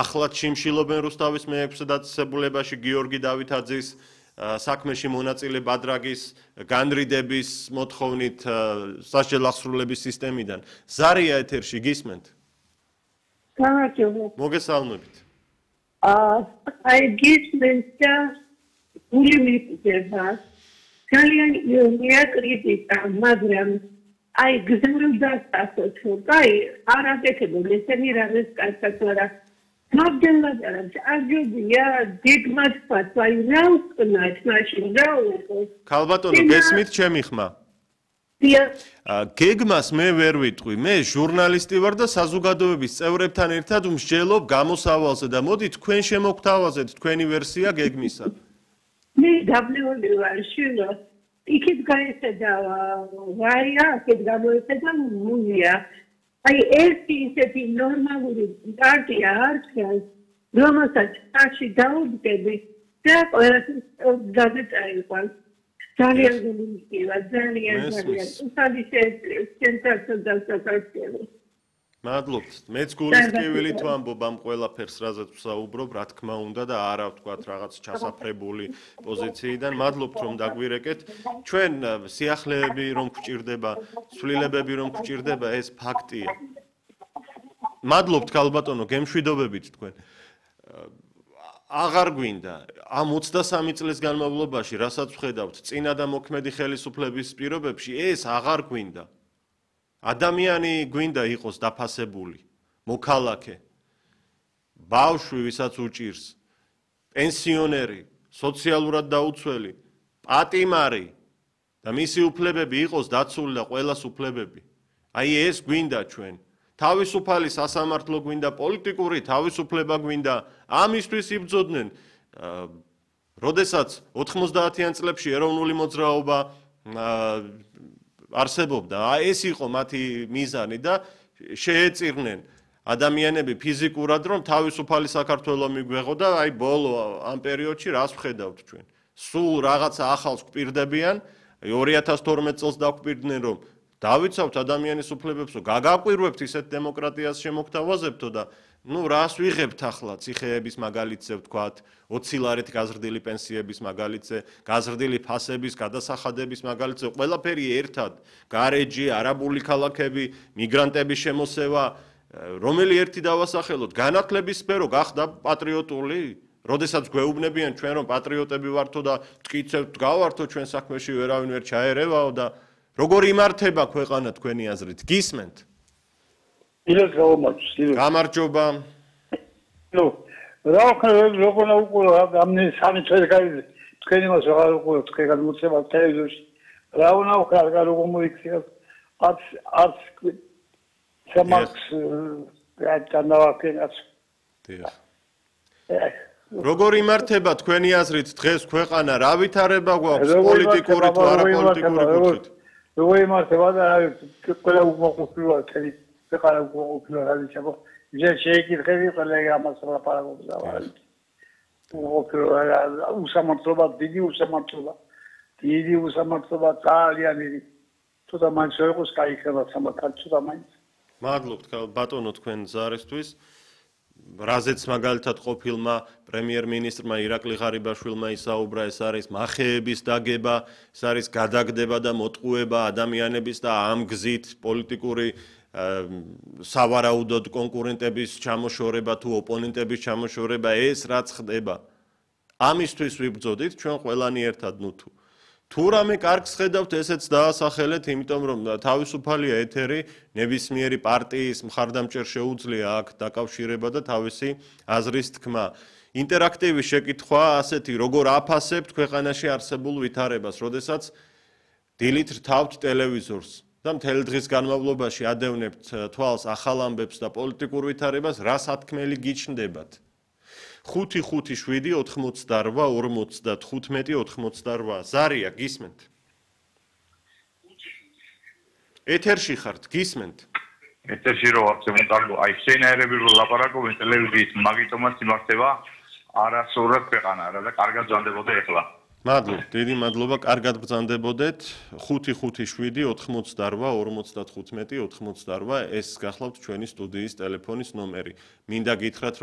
ახლად შიმშილობენ რუსთავის მეექვსე დაწესებულებაში გიორგი დავითაძის საქმეში მონაწილე ბადრაგის განრიდების მოთხოვნით სასჯელ აღსრულების სისტემიდან. ზარია ეთერში გისმენთ? გამარჯობა. მოგესალმებით. აი გისმენთ და გული მიწება. ძალიან მიაკრიტიკა, მაგრამ აი გზურდა სასწო, აი არ აკეთებენ ესენი რაღაც კაცად არა. მაგდენად არჯობია დიდმაც ფათვაი რა უკნათ მაშინ რა უყოს. ქალბატონო გესმით ჩემი ხმა? გეგმას მე ვერ ვიტყვი, მე ჟურნალისტი ვარ და საზოგადოების წევრებთან ერთად მსჯელობ გამოსავალზე და მოდი თქვენ შემოგთავაზეთ თქვენი ვერსია გეგმისა. მე დაბნეული ვარ შილო. იქით გაეცედა ვარია, აქეთ გამოეცედა მუნია. აი ერთი ისეთი ნორმალური პარტია არ ჩანს, რომელსაც ხარში დაუდგები და ყველასთვის გადაწაიყვანს. ძალიან გულისხმობა, ძალიან. უსადი ცენტრალურ საქართველოს. მადლობთ. მეც გულისხმობთ ვამბობ ამ ყველაფერს, რაზეც ვსაუბრობ, რა თქმა უნდა და არა ვთქვათ რაღაც ჩასაფრებული პოზიციიდან. მადლობთ რომ დაგვირეკეთ. ჩვენ სიახლეები რომ გვჭირდება, ცვლილებები რომ გვჭირდება, ეს ფაქტია. მადლობთ ქალბატონო, გემშვიდობებით თქვენ. აღარ გვინდა ამ 23 წლის განმავლობაში, რასაც ვხედავთ, წინა და მოქმედი ხელისუფლების პირობებში, ეს აღარ გვინდა. ადამიანი გვინდა იყოს დაფასებული, მოქალაქე, ბავშვი, ვისაც უჭირს, პენსიონერი, სოციალურად დაუცველი, პატიმარი და მისი უფლებები იყოს დაცული და ყველას უფლებები. აი ეს გვინდა ჩვენ. თავისუფალი სასამართლო გვინდა, პოლიტიკური თავისუფლება გვინდა, ამისთვის იბრძოდნენ. როდესაც 90-იან წლებში ეროვნული მოძრაობა არსებობდა. ეს იყო მათი მიზანი და შეეწირნენ ადამიანები ფიზიკურად, რომ თავისუფალი საქართველო მიგვეღო და აი ბოლო ამ პერიოდში რას ვხედავთ ჩვენ? სულ რაღაცა ახალს გვპირდებიან, 2012 წელს დაგვპირდნენ, რომ დავიცავთ ადამიანის უფლებებსო, გაგაკვირვებთ ისეთ დემოკრატიას შემოგთავაზებთო და რას ვიღებთ ახლა ციხეების მაგალითზე ვთქვათ, 20 ლარით გაზრდილი პენსიების მაგალითზე, გაზრდილი ფასების, გადასახადების მაგალითზე, ყველაფერი ერთად, გარეჯი, არაბული ქალაქები, მიგრანტების შემოსევა, რომელი ერთი დავასახელოთ, განათლების სფერო გახდა პატრიოტული, როდესაც გვეუბნებიან ჩვენ რომ პატრიოტები ვართო და მტკიცებთ გავართო ჩვენ საქმეში ვერავინ ვერ ჩაერევაო და როგორ იმართება ქვეყანა თქვენი აზრით? გისმენთ? გამარჯობა. რა როგორ უყურებ ამნი სამი წელი გაიძე თქვენი მას აღარ უყურებ თქვენ გამოცემა ტელევიზორში რა უნდა ვქარ როგორ მოიქცია არც სამაც განავაკენაც როგორ იმართება თქვენი აზრით დღეს ქვეყანა რა ვითარება გვაქვს პოლიტიკური თუ არაპოლიტიკური კუთხით? როგორ იმართება და ყველა უკმაყოფილოა თელი ქვეყანა უკმაყოფილოა რა ვიცი შეიკითხები ყველა ამას ლაპარაკობს და უსამართლობა დიდი უსამართლობა ძალიან დიდი თუმცა მაინც არ იყოს კაი ხება თუმცა მაინც მადლობთ ბატონო თქვენ ზარისთვის რაზეც მაგალითად ყოფილმა პრემიერ-მინისტრმა ირაკლი ღარიბაშვილმა ისაუბრა ეს არის მახეების დაგება ეს არის გადაგდება და მოტყუება ადამიანების და ამ გზით პოლიტიკური სავარაუდოდ კონკურენტების ჩამოშორება თუ ოპონენტების ჩამოშორება ეს რაც ხდება ამისთვის ვიბრძოდით ჩვენ ყველანი ერთად თუ რამე კარგს ხედავთ ესეც დაასახელეთ იმიტომ რომ თავისუფალია ეთერი ნებისმიერი პარტიის მხარდამჭერ შეუძლია აქ დაკავშირება და თავისი აზრის თქმა ინტერაქტივი შეკითხვა ასეთი როგორ აფასებთ ქვეყანაში არსებულ ვითარებას როდესაც დილით რთავთ ტელევიზორს და მთელი დღის განმავლობაში ადევნებთ თვალს ახალ ამბებს და პოლიტიკურ ვითარებას რა სათქმელი გიჩნდებათ 5-5-7-88-45-88 ზარია გისმენთ ეთერში ხართ გისმენთ ეთერში რო ვარ შემოტარგო აი შენაერები რო ლაპარაკობენ ტელევიზიის მაგიტომაც იმართება არასწორად ქვეყანა რა და კარგად ბრძანდებოდა ეხლა მადლობთ დიდი მადლობა კარგად ბრძანდებოდეთ 5-5-7-88-45-88 ეს გახლავთ ჩვენი სტუდიის ტელეფონის ნომერი მინდა გითხრათ